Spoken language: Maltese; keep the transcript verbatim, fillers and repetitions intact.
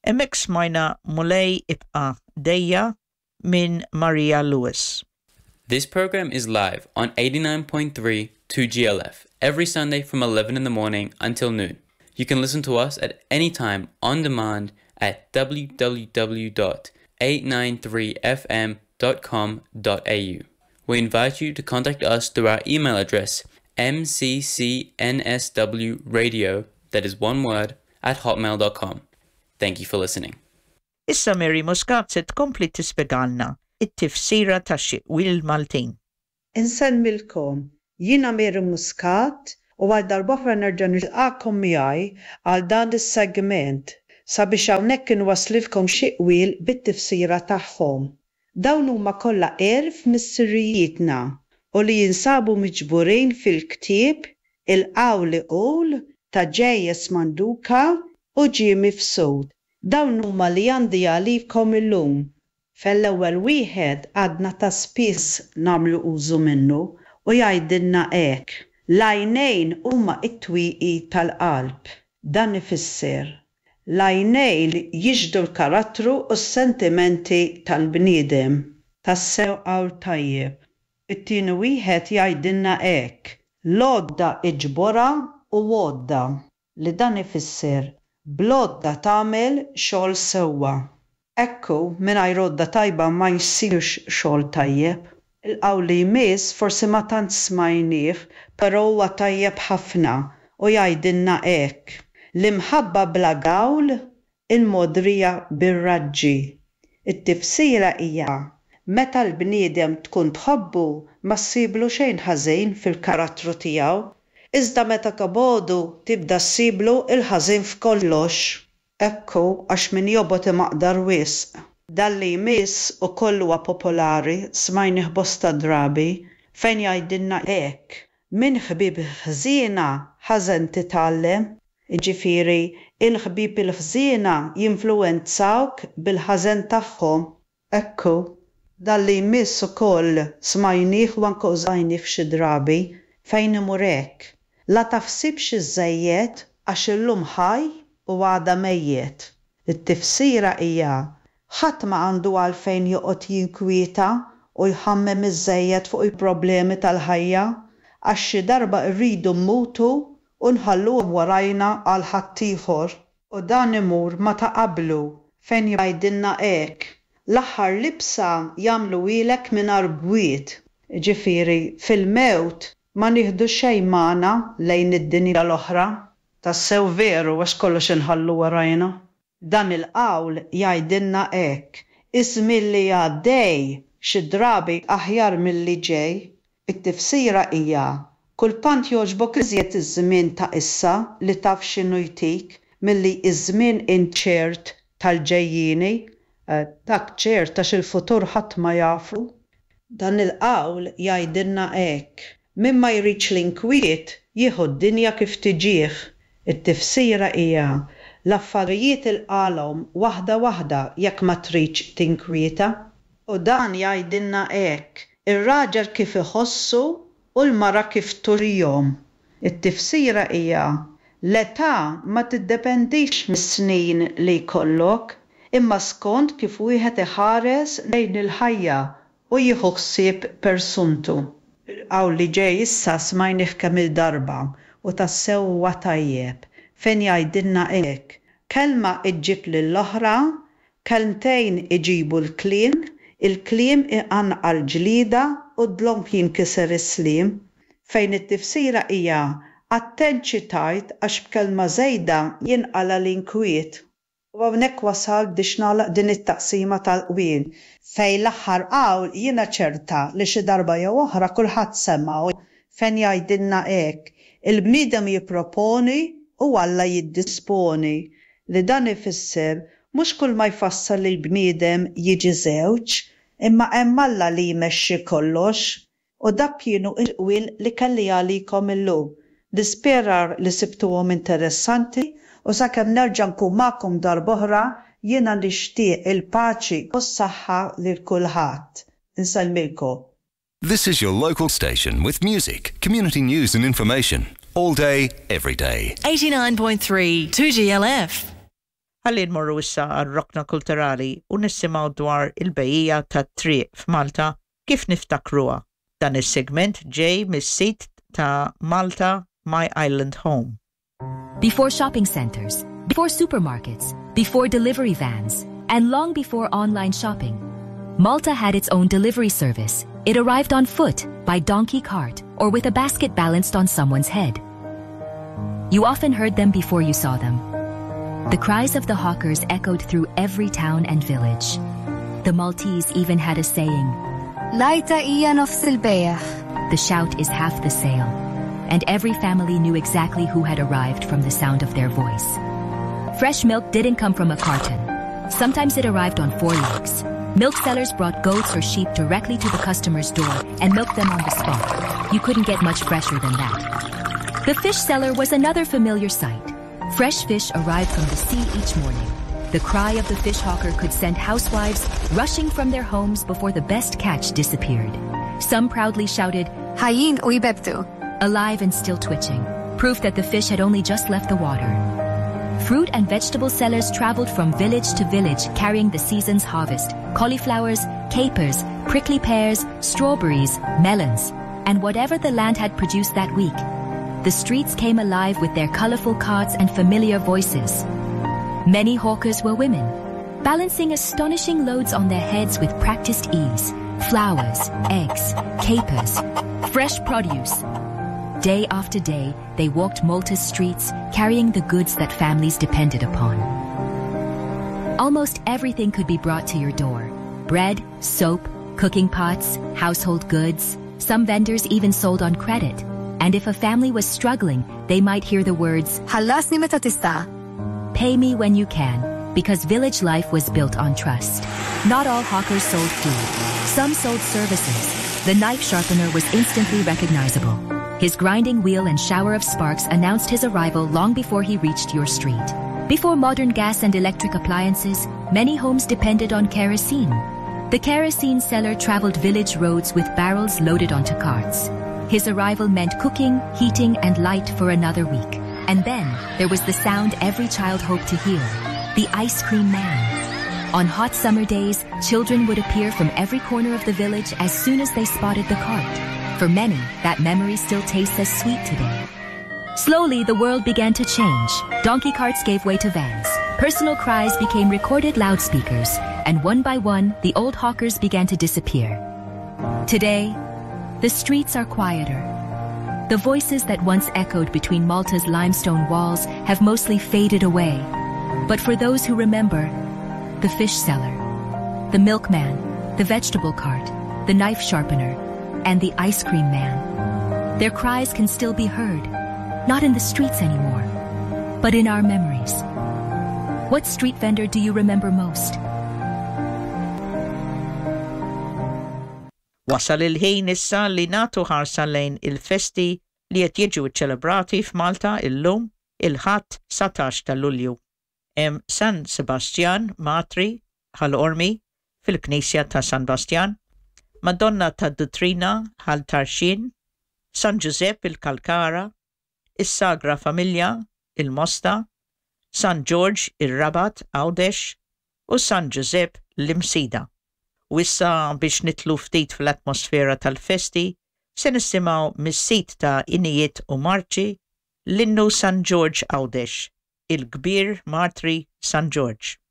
Hemmhekk smajna Mulej Ibqa' Ħdejja minn Maria Lewis. This program is live on eighty-nine point three two G L F every Sunday from eleven in the morning until noon. You can listen to us at any time on demand at w w w dot eight nine three f m dot com dot a u. We invite you to contact us through our email address m c c n s w radio, that is one word, at hotmail dot com. Thank you for listening. Issa Mary Muscat se tkompli tispjegalna it-tifsira ta' xi qwiel Maltin. Insellmilkom, jiena Mary Muscat u għal darb'oħra nerġa' nilqagħkom miegħi għal dan is-segment sabiex hawnhekk inwasslilkom xi qwiel bit-tifsira tagħhom. Dawn huma kollha għerf missirijietna u li jinsabu miġburin fil-ktieb Il-Qawl Iqul ta' J S Manduca u G Mifsud. Dawn huma li għandi għalikom illum. Fejn l-ewwel wieħed għadna ta' spiss nagħmlu użu minnu u jgħidilna hekk: L-għajnejn huma t-twieqi tal-qalb. Dan ifisser, l-għajnejn jixhdu l-karattru u s-sentimenti tal-bniedem. Tassew qawl tajjeb. It-tieni wieħed jgħidilna hekk: L-għodda iġborha u għoddha. Li dan ifisser, bl-għodda tagħmel xogħol sewwa. Ekku, mingħajr għodda tajba ma jsirx xogħol tajjeb. Il-qawl li jmiss forsi ma tant smajnieh, però huwa tajjeb ħafna u jgħidilna hekk: L-imħabba bla gawl, il-mogħdrija bir-raġġi. It-tifsira hija, meta l-bniedem tkun tħobbu ma ssiblu xejn ħażin fil-karattru tiegħu. Iżda meta tobogħdu tibda ssiblu il-ħażin f'kollox. Ekku, għax min jobgħod imaqdar wisq. Dan li jmiss ukoll huwa popolari, smajnih bosta drabi, fejn jgħidilna hekk: Minn ħbieb ħżiena ħażen titgħallem. Jiġifieri, il-ħbieb il-ħżiena jinfluwenzawk bil-ħażen tagħhom. Ekku, dan li jmiss ukoll smajnih u anke użajnih xi drabi, fejn imur hekk: La taħsibx iżżejjed għax illum ħaj u għada mejjet. It-tifsira hija, ħadd ma għandu għalfejn joqgħod jinkwieta u jħammem iżżejjed fuq il-problemi tal-ħajja għax xi darba rridu mmutu u nħalluhom warajna għal ħaddieħor. U dan imur ma' ta' qablu fejn jgħidilna hekk: L-aħħar libsa jagħmluhielek mingħajr bwiet. Jiġifieri, fil-mewt ma nieħdu xejn magħna lejn id-dinja l-oħra. Tassew veru għax kollox inħallu warajna. Dan il-qawl jgħidilna hekk: Iż-żmien li għaddej xi drabi aħjar milli ġej. It-tifsira hija, kultant jogħġbok iżjed iż-żmien ta' issa li taf x'inhu jtik milli iż-żmien inċert tal-ġejjieni. Eh, dak ċert għax il-futur ħadd ma jafu. Dan il-qawl jgħidilna hekk: Min ma jridx l-inkwiet jieħu d-dinja kif tiġih. It-tifsira hija, l-affarijiet ilqagħlhom waħda waħda jekk ma tridx tinkwieta. U dan jgħidilna hekk: Ir-raġel kif iħossu u l-mara kif turihom. It-tifsira hija, l-età ma tiddependix mis-snin li jkollok, imma skont kif wieħed iħares lejn il-ħajja u jieħu ħsieb persuntu. Il-qawl li ġej issa smajnih kemm-il darba u tassew huwa tajjeb, fejn jgħidilna hekk: Kelma ġġib lill-oħra, kelmtejn iġibu l-kliem, il-kliem iqanqal ġlieda u dlonk jinkiser is-sliem. Fejn it-tifsira hija, attent xi tgħid għax b'kelma żejda jinqala' l-inkwiet. U hawnhekk wasalt biex nagħlaq din it-taqsima tal-qwiel. Fejn l-aħħar qawl jiena ċerta li xi darba jew oħra kulħadd semgħu, fejn jgħidilna hekk: Il-bniedem jipproponi u Alla jiddisponi. Li dan ifisser, mhux kull ma jfassal il-bniedem jiġi żewġ, imma hemm Alla li jmexxi kollox. U dak kienu il-qwiel li kelli għalikom illum. Nispera li sibtuhom interessanti u sakemm nerġa' nkun magħkom darb'oħra jiena nixtieq il-paċi u s-saħħa lil kulħadd. Insellmilkom. This is your local station with music, community news and information. All day, every day. eighty-nine point three two G L F. Ħalli nmorru issa għar-rokna kulturali u nisimgħu dwar il-bejjiegħa tat-triq f'Malta kif niftakruha. Dan is-segment ġej mis-sit ta' Malta My Island Home. Before shopping centers, before supermarkets, before delivery vans, and long before online shopping, Malta had its own delivery service. It arrived on foot, by donkey cart, or with a basket balanced on someone's head. You often heard them before you saw them. The cries of the hawkers echoed through every town and village. The Maltese even had a saying, L-għajta hija nofs il-bejgħ. the shout is half the sale. And every family knew exactly who had arrived from the sound of their voice. Fresh milk didn't come from a carton. Sometimes it arrived on four legs. Milk sellers brought goats or sheep directly to the customer's door and milked them on the spot. You couldn't get much fresher than that. The fish seller was another familiar sight. Fresh fish arrived from the sea each morning. The cry of the fish hawker could send housewives rushing from their homes before the best catch disappeared. Some proudly shouted, Ħajjin u jberbtu. alive and still twitching, proof that the fish had only just left the water. Fruit and vegetable sellers traveled from village to village carrying the season's harvest cauliflowers, capers, prickly pears, strawberries, melons, and whatever the land had produced that week. The streets came alive with their colorful carts and familiar voices. Many hawkers were women, balancing astonishing loads on their heads with practiced ease flowers, eggs, capers, fresh produce. Day after day, they walked Malta's streets carrying the goods that families depended upon. Almost everything could be brought to your door bread, soap, cooking pots, household goods. Some vendors even sold on credit. And if a family was struggling, they might hear the words, Ħallasni meta tista'. Pay me when you can, because village life was built on trust. Not all hawkers sold food. Some sold services. The knife sharpener was instantly recognizable. His grinding wheel and shower of sparks announced his arrival long before he reached your street. Before modern gas and electric appliances, many homes depended on kerosene. The kerosene seller traveled village roads with barrels loaded onto carts. His arrival meant cooking, heating, and light for another week. And then there was the sound every child hoped to hear the ice cream man. On hot summer days, children would appear from every corner of the village as soon as they spotted the cart. For many, that memory still tastes as sweet today. Slowly, the world began to change. Donkey carts gave way to vans. Personal cries became recorded loudspeakers, and one by one, the old hawkers began to disappear. Today, the streets are quieter. The voices that once echoed between Malta's limestone walls have mostly faded away. But for those who remember, the fish seller, the milkman, the vegetable cart, the knife sharpener, and the ice cream man, their cries can still be heard, not in the streets anymore, but in our memories. What street vendor do you remember most? Wasal il-ħin issa li nagħtu ħarsa lejn il-festi li qed jiġu ċelebrati f'Malta illum il-Ħadd satax ta' Lulju. Hemm San Sebastian Martri Ħal Qormi fil-Knisja ta' San Bastian, Madonna ta' Duttrina Ħal Tarxien, San Giuseppe il-Kalkara, is-Sagra Familja il-Mosta, San George ir-Rabat Għawdex u San Giuseppe l-Imsida. U issa biex nidħlu ftit fl-atmosfera tal-festi, se nisimgħu mis-sit ta' Innijiet u Marċi l-innu San George Għawdex, il-kbir Martri San George.